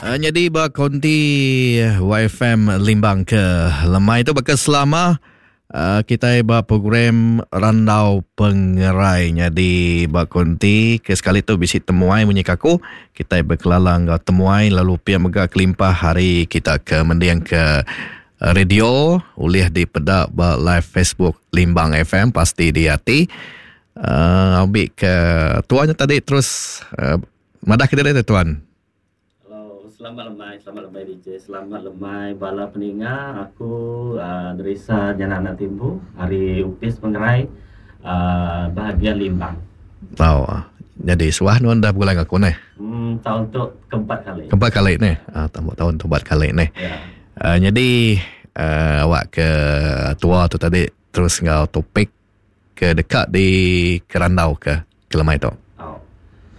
Nyadi ba konti YFM Limbang ke lemai tu baka selama kitai ba program Randau Pengerai nyadi ba konti ke sekali tu bisi temuai munyi ke aku kitai bekelala enggau temuai lalu pia mega kelimpah hari kita ke mending ke radio ulih dipeda ba live Facebook Limbang FM pasti di ati uhh ambi ke tuan nya tadi terus madah kediri tu tuan. Hello, selamat lemai, selamat lemai DJ, selamat lemai bala peninga aku uh, Nerisa Jana Anak Timbu ari Upis Pengerai uh, bahagian Limbang. Tau. Jadi suah nuan dah begulai aku neh. Hmm, tahun tu keempat kali. Keempat kali neh. Ah, tambah tahun tu empat kali neh. Ya. Uh, jadi uh, awak ke tua tu tadi terus enggau topik ke deka dikerandauka ke lemai tu. Au.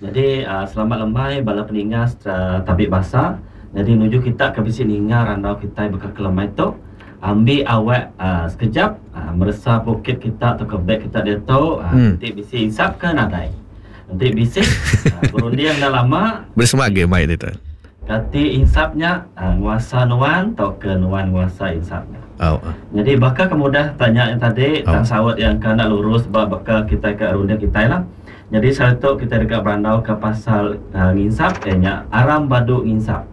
Nyadi selamat lemai bala peninga sereta tabi basa. Nyadi nuju kita ke bisi ninga randau kitai baka ke lemai tu, ambi awak sekejap meresa poket kita tauka beg kita diatu enti bisi insap ke nadai. Enti bisi berunding enda lama. Besemah agi mai ditu. Kati insap nya nguasa nuan tauka nuan nguasa insap nya? Nyadi baka ke mudah tanya nya tadi tang saut iya engka enda lurus ba baka kitai ke runding kitai lah. Nyadi sehari tu kitai deka berandauka pasal nginsap iya nya aram badu nginsap.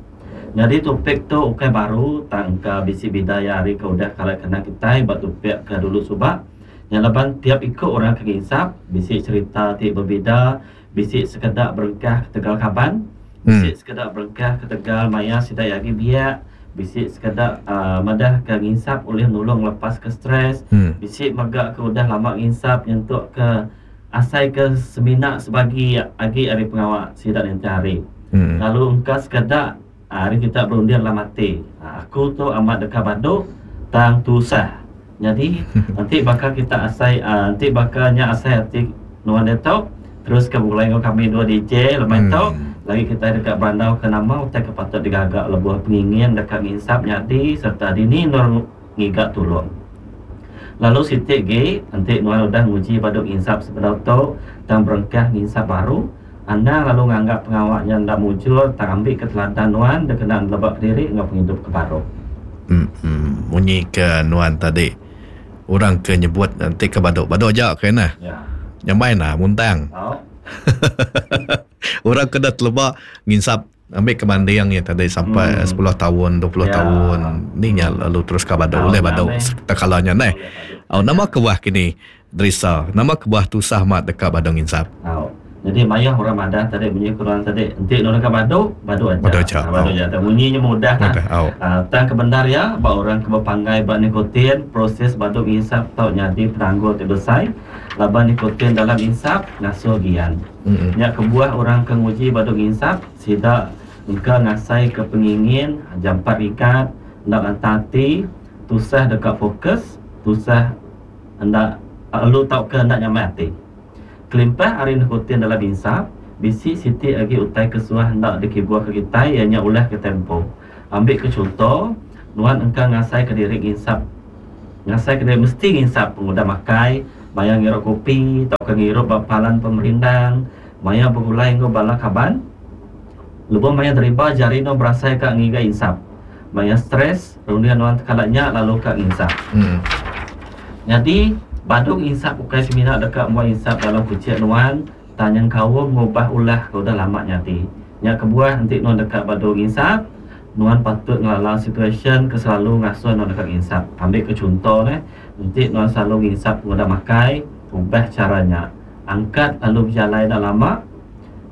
Nyadi topik tu ukai baru tang engka bisi bida iya ari ke udah kala kena kitai ba topik ke dulu suba. Nya laban tiap iku orang ke nginsap bisi cherita ti bebida Bisi sekeda berengkah ketegal kaban, bisi sekeda berengkah ketegal maya sida iya agi biak, bisi sekeda madahka nginsap ulih nulung ngelepaska stress, bisi mega ke udah lama nginsap nyentukka asai ke semina sebagi agi ari pengawa sida ninting hari. Lalu engka sekeda ari kita berunding dalam ati, Aku tu amat deka badu tang tusah. Nyadi, enti baka kita asai enti baka nya asai ati nuan diatu, teruska begulai enggau kami dua DJ lemai tu, lagi kitai deka berandauka nama utai ke patut digaga lebuh pengingin deka nginsap nyadi sereta dini endur ngiga tulung. Lalu siti agi, enti nuan udah nguji badu nginsap sebedau tu tang berengkah nginsap baru, anang lalu nganggap pengawa nya enda mujur tang ambika teladan nuan dikena neleba kediri enggau pengidup ke baru. Emm munyi ke nuan tadi orang ke nyebut enti ke badu badu aja ke neh. Nyamai nah muntang. Orang ke dah teleba nginsap ambi ke banding iya tadi sampai sepuluh taun 20 taun ni nya lalu terus ka badu ulih badu tekala nya neh. Au nama kebuah kini Derisa, nama kebuah tusah amat deka badu nginsap? Tau. Nyadi mayuh orang madah tadi munyi ku nuan tadi enti nuan deka badu, badu aja. Badu aja. Badu aja. Tang munyi nya mudah nah. Mudah, au. Tang ke bendar iya ba orang ke bepanggai ba nikotin, proses badu nginsap tau nyadi penanggul ti besai laban nikotin dalam insap ngasuh gian. Nya kebuah orang ke nguji badu nginsap, sida engka ngasaika pengingin jampat rikat, enda lantang ati, tusah deka fokus, tusah enda lalu tauka enda nyamai ati. Kelimpah ari nikotin dalam insap, bisi siti agi utai ke suah enda dikibuhka kitai iya nya ulah kitai empu. Ambika chunto, nuan engka ngasaika diri nginsap ngasaika diri mesti nginsap pengudah makai, maya ngirup kopi tauka ngirup ba palan pemerindang, maya begulai enggau bala kaban. Lebuh maya deriba jari nuan berasai ka ngiga insap. Maya stress, runding nuan tekala nya lalu ka nginsap. Nyadi, badu nginsap ukai semina deka muai insap dalam kuchik nuan, tang nyengkaum ngubah ulah ke udah lama nyadi. Nya kebuah enti nuan deka badu nginsap, nuan patut ngelala situasyen ke selalu ngasuh nuan deka nginsap. Ambika chunto neh, enti nuan selalu nginsap pengudah makai, ubah chara nya. Angkat lalu bejalai enda lama,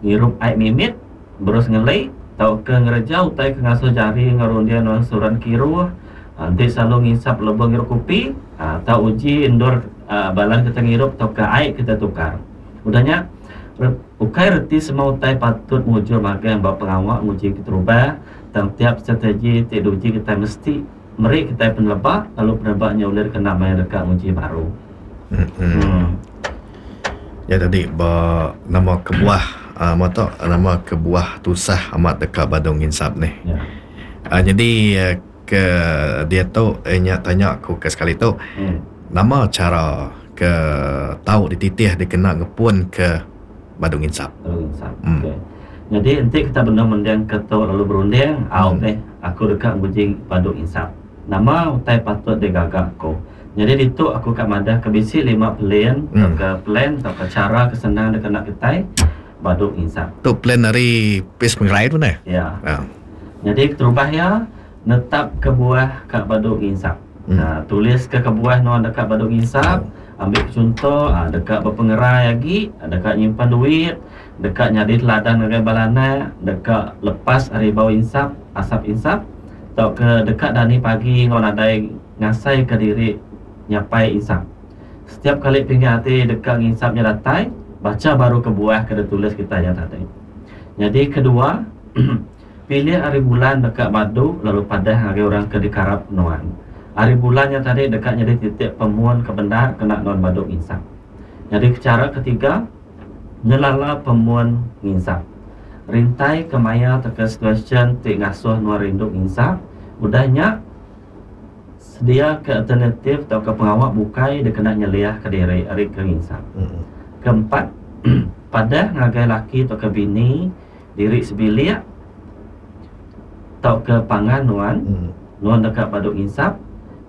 ngirup ai mimit, Berus ngeli, tauka ngereja utai ke ngasuh jari enggau runding nuan seruran kiruh. Enti selalu nginsap lebuh ngirup kopi, tau uji endur balan kita ngirup tauka ai kita tukar. Udah nya, ukai reti semua utai patut mujur magang ba pengawa nguji keterubah, tang tiap strategi ti diuji kitai mesti meri kitai peneleba lalu peneleba nya ulih dikena maya deka nguji baru. Nya tadi ba nama kebuah aaa tu nama kebuah tusah amat deka badu nginsap nih. Aaa nyadi ke diatu inya tanya ku ke sekali tu nama chara ke tau dititih dikena ngepun ke badu nginsap. Badu nginsap. Okey. Nyadi enti kita benung mending ke tu lalu berunding, au meh aku deka nguji badu nginsap. Nama utai patut digaga aku? Nyadi ditu aku ka madah ke bisi lima pelin tauka plan tauka chara ke senang dikena kitai badu nginsap. Tu plan ari Opis Pengerai tu neh. Ya. Nyadi keterubah iya netap kebuah ka badu nginsap. Tulis ke kebuah nuan deka badu nginsap. Ambi ke chunto deka bepengerai agi, deka nyimpan duit, deka nyadi teladan ngagai bala anak, deka lepas ari bau insap, asap insap, tauka deka dani pagi enggau nadai ngasaika diri nyapai insap. Setiap kali pinggai ati deka nginsap nya datai, bacha baru kebuah ke ditulis kitai nya tadi. Nyadi kedua, pilih hari bulan deka badu lalu padah ngagai orang ke dikarap nuan. Hari bulan nya tadi deka nyadi titik pemun ke bendar kena nuan badu nginsap. Nyadi chara ketiga, Ngelala pemun nginsap. Rintai ke maya tauka situasyen ti ngasuh nuan rindu nginsap, udah nya sediaka alternatif tauka pengawa bukai dikena nyeliahka diri ari ke nginsap. Keempat, padah ngagai laki tauka bini diri sebilik tauka pangan nuan, nuan deka badu nginsap,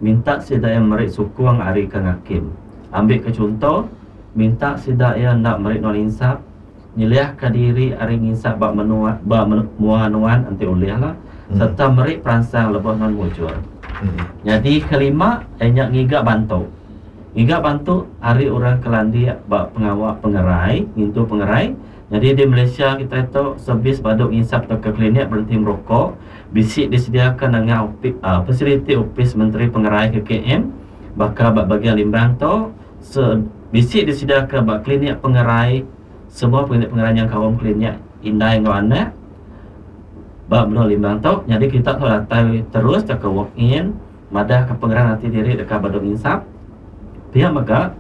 minta sida iya meri sukung ari ke ngakim. Ambika chunto, Minta sida iya enda meri nuan insap, nyeliahka diri ari nginsap ba menua ba mua nuan enti ulih lah, sereta meri peransang lebuh nuan mujur. Nyadi kelima iya nya ngiga bantu. Ngiga bantu ari orang ke landik ba pengawa pengerai, ngintu pengerai. Nyadi di Malaysia kitai tu servis badu nginsap tauka klinik berenti merokok bisi disediaka nengah fasiliti Opis Menteri Pengerai KKM baka ba bagian Limbang tu. Se bisi disediaka ba klinik pengerai semua klinik pengerai nyengkaum klinik indai enggau anak ba menua Limbang tu nyadi kita tau datai terus tauka walk in madahka pengeran ati diri deka badu nginsap. Pia mega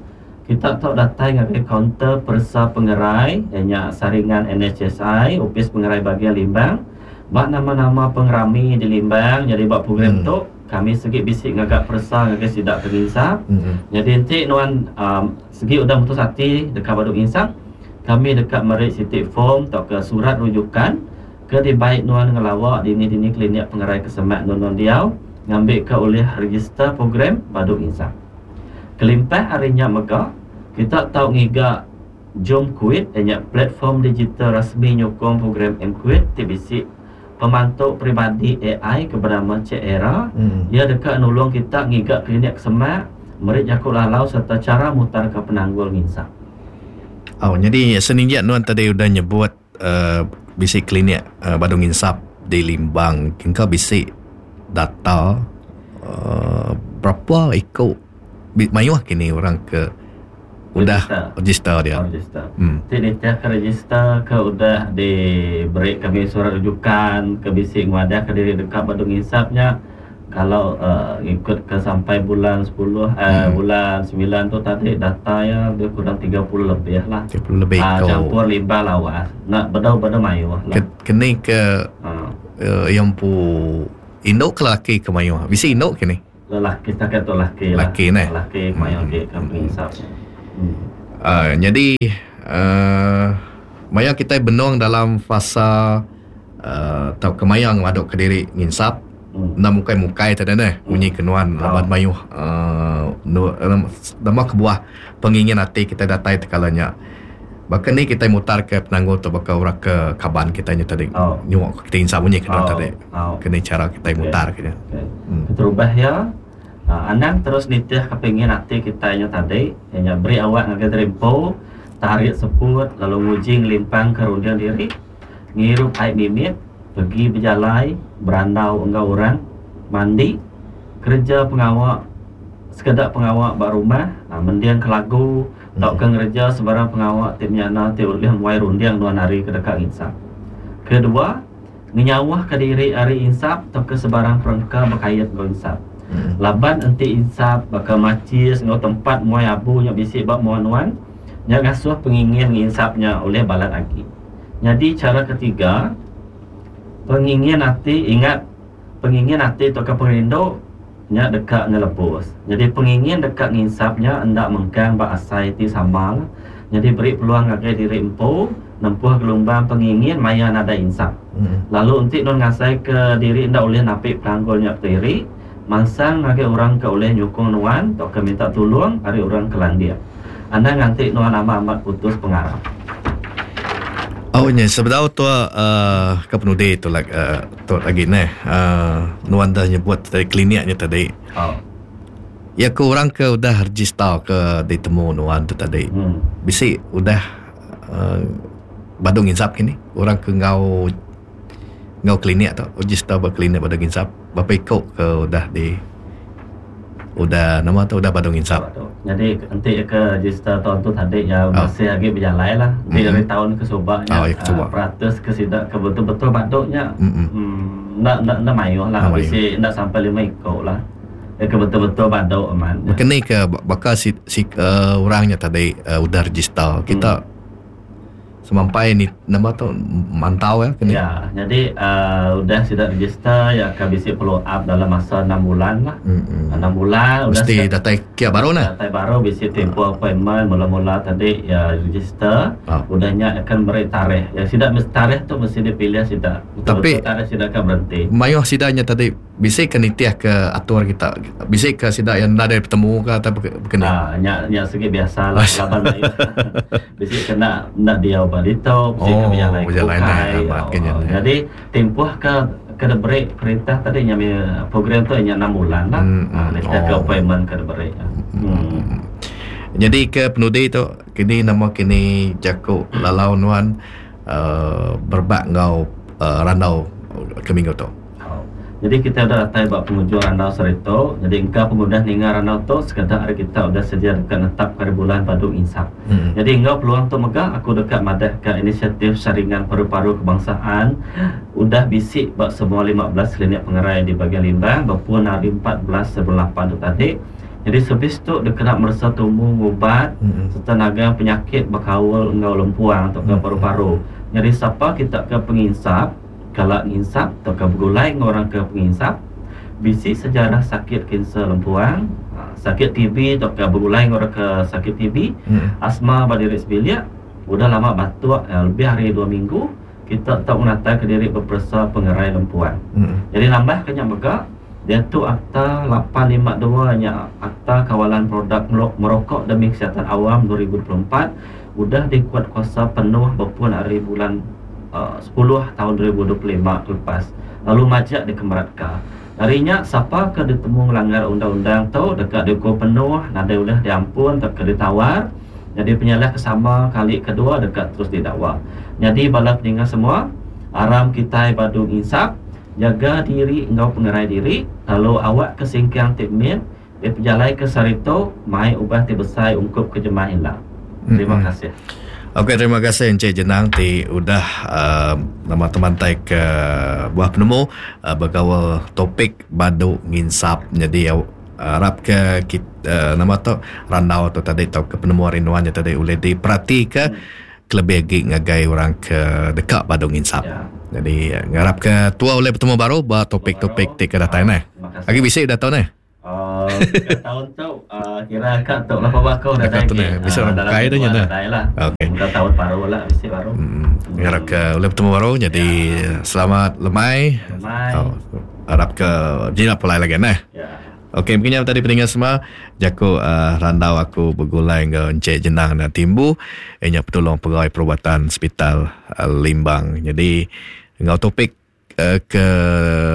kita tau datai ngagai kaunter peresa pengerai iya nya saringan NHSI Opis Pengerai Bahagian Limbang ba nama-nama pengerami di Limbang nyadi ba program tu. Kami segi bisi ngaga peresa ngagai sida ke nginsap. Nyadi enti nuan segi udah mutus ati deka badu nginsap, kami deka meri siti form tauka surat rujukan ke dibai nuan ngelawa dini-dini klinik pengerai ke semak endur nuan diau ngambika ulih register program badu nginsap. Kelimpah ari nya mega, kita tau ngiga Jom Quit iya nya platform digital rasmi nyukung program M-Quit ti bisi Pemantu peribadi ai ke benama Cik Era, iya deka nulung kita ngiga klinik ke semak, meri jaku lalau sereta chara mutarka penanggul nginsap. Au nyadi seninjik nuan tadi udah nyebut bisi klinik badu nginsap di Limbang engka bisi data berapa iku mayuh kini orang ke udah register dia. Register. Hmm. Ti nitih ke register ke udah diberi kami surat rujukan ke bisi nguadah ke diri deka badu ngisap nya kalau uh, ngikut ke sampai bulan 10 eh, hmm. bulan 9 tu tadi data ya lebih kurang 30 lebih lah. 30 lebih uh, campur limbah lawas. Nak bedau-bedau mayuh lah. Ke, keni ke uh. Uh, yang pu indu ke lelaki ke mayuh? Bisi indu kini? Lelaki setakat tu laki lah. Laki neh. Laki mayuh agi ke penginsap. Hmm. Uh, jadi uh, maya kitai benung dalam fasa uh, tauka maya ngemaduk ke diri nginsap hmm. enda mukai-mukai tadi neh hmm. munyi ke nuan oh. laban mayuh uh, nama kebuah pengingin ati kitai datai tekala nya. Baka ni kitai mutarka penanggul tu baka orang ke kaban kitai nya tadi oh. nyuak ke kitai insap munyi ke oh. tadi. Oh. Keni cara kitai okay. mutarka nya. Okay. Hmm. Keterubah iya uh, anang terus nitih ke pengin ati kitai nya tadi, iya nya beri awak ngagai diri empu tarik seput lalu nguji ngelimpangka runding diri, ngirup ai mimit, pegi bejalai, berandau enggau orang, mandi, kereja pengawa sekeda pengawa ba rumah, mendingka lagu tauka ngereja sebarang pengawa ti menyana ti ulih muai runding nuan ari ke deka nginsap. Kedua, ngenyauhka diri ari insap tauka sebarang perengka bekait enggau insap. Laban enti insap baka machis enggau tempat muai abu nya bisi ba mua nuan, nya ngasuh pengingin nginsap nya ulih balat agi. Nyadi chara ketiga, pengingin ati ingat pengingin ati tauka pengerindu Nya deka ngelebus. Nyadi pengingin deka nginsap nya enda mengkang ba asai ti sama lah. Nyadi beri peluang ngagai diri empu Nempuh gelumbang pengingin maya nadai insap. Lalu enti nuan ngasaika diri enda ulih napi penanggul nya kediri, mansang ngagai orang ke ulih nyukung nuan tauka minta tulung ari orang ke landik. Anang nganti nuan amat-amat putus pengarap. Au nya sebedau tu uhh ke penudi tu lag uhh tu agi neh uhh nuan dah nyebut tadi klinik nya tadi. Iya ku orang ke udah register ke ditemu nuan tu tadi bisi udah uhh badu nginsap kini orang ke enggau enggau klinik tu register ba klinik badu nginsap berapa iko ke udah di udah nama tu udah badu nginsap. Nyadi enti ke register taun tu tadi iya masih agi bejalai lah enti ari taun ke suba nya peratus ke sida ke betul betul badu nya uhh enda enda mayuh lah bisi enda sampai lima iko lah. Ke betul-betul badu amat. Baka ni ke baka si, si uh, orang nya tadi uh, udah register kita hmm. semampai ni nama tu mantau ya kini. Ya, jadi uh, udah sida register ya akan bisi follow up dalam masa 6 bulan lah. Hmm. 6 bulan udah mesti datai kia baru nah. Datai baru bisi tempoh appointment mula-mula tadi ya register. Oh. Udah nya akan beri tarikh. Ya sida mesti tarikh tu mesti dipilih sida. Tapi tarikh sida akan berhenti. Mayuh sida nya tadi Bisi ke nitih ke atur kita? Bisi ke sida iya enda deh betemu ke atau baka ni? Ah nya nya sigi biasa lah laban mayuh bisi ke enda enda diau ba ditu, bisi ke bejalai ke bukai. Oh jadi timpuh ke ke diberi perintah tadi nya mih program tu nya enam bulan lah. Ah nitih ke appointment ke diberi. Hmm. Nyadi ke penudi tu kini nama kini jaku lalau nuan uhh berebak enggau uhh randau ke minggu tu. Nyadi kitai udah datai ba pengujung randau sehari tu. Nyadi engka pengudah ninga randau tu, sekeda ari kita udah sedia deka netapka hari bulan badu nginsap. Nyadi enggau peluang tu mega aku deka madahka inisiatif Saringan Paru-Paru Kebangsaan udah bisi ba semua 15 klinik pengerai di Bagian Limbang bepun hari 14 bulan lapan tu tadi. Nyadi servis tu dikena meresa tumu ngubat sereta nagang penyakit bekaul enggau lempuang tauka paru-paru. Nyadi sapa kita ke penginsap, Kala nginsap tauka begulai enggau orang ke penginsap, bisi sejarah sakit kanser lempuang, sakit TB tauka begulai enggau orang ke sakit TB, asma ba diri sebilik, udah lama batuk lebih ari dua minggu, kita tau ngenataika diri beperesa pengerai lempuang. Nyadi nambahka nya mega, diatu Akta 852 nya Akta Kawalan Produk Merokok Demi Kesihatan Awam 2024 udah dikuatkuasa penuh bepun ari bulan sepuluh taun 2025 ke lepas lalu majak dikemeratka. Ari nya, sapa ke ditemu ngelanggar undang-undang tu deka diukum penuh nadai ulih diampun tauka ditawar nyadi penyalah ke sama kali kedua deka terus didakwa. Nyadi bala peninga semua, aram kitai badu nginsap, nyaga diri enggau pengerai diri lalu awakka singkang ti mit Dipejalaika sehari tu mai ubah ti besai ungkup ke jemah ila. Terima kasih. Okey terima kasih Encik Jenang ti udah uh, nama temantai ke buah penemu uh, bergaul topik badu nginsap jadi uh, harap ke kita, uh, nama tu randau tu tadi tau ke penemu ari nuan tadi ulih diperatika kelebih agi ngagai orang ke deka badu nginsap. Ya. Jadi ngarap ke tua ulih betemu baru ba topik-topik ti ke datai neh. Agi bisi udah tau neh. Uh, tahun tu uh, kira ka tu lah bapa aku dah dah ni. Bisi orang bukai tu nya. Lah. Okey. Mudah tahun baru lah bisi baru. Hmm. Ngarap ke ulih betemu baru jadi ya. Selamat lemai. Lemai. Oh, harap ke jinak pulai lagi neh. Ya. Okey, mungkin tadi peninga semua jaku uh, randau aku begulai enggau Encik Jenang dan Timbu inya petulung pegawai perubatan Hospital uh, Limbang. Jadi enggau topik uh, ke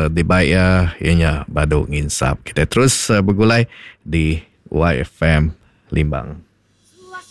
dibai iya iya nya badu nginsap. Kita terus uh, begulai di YFM Limbang.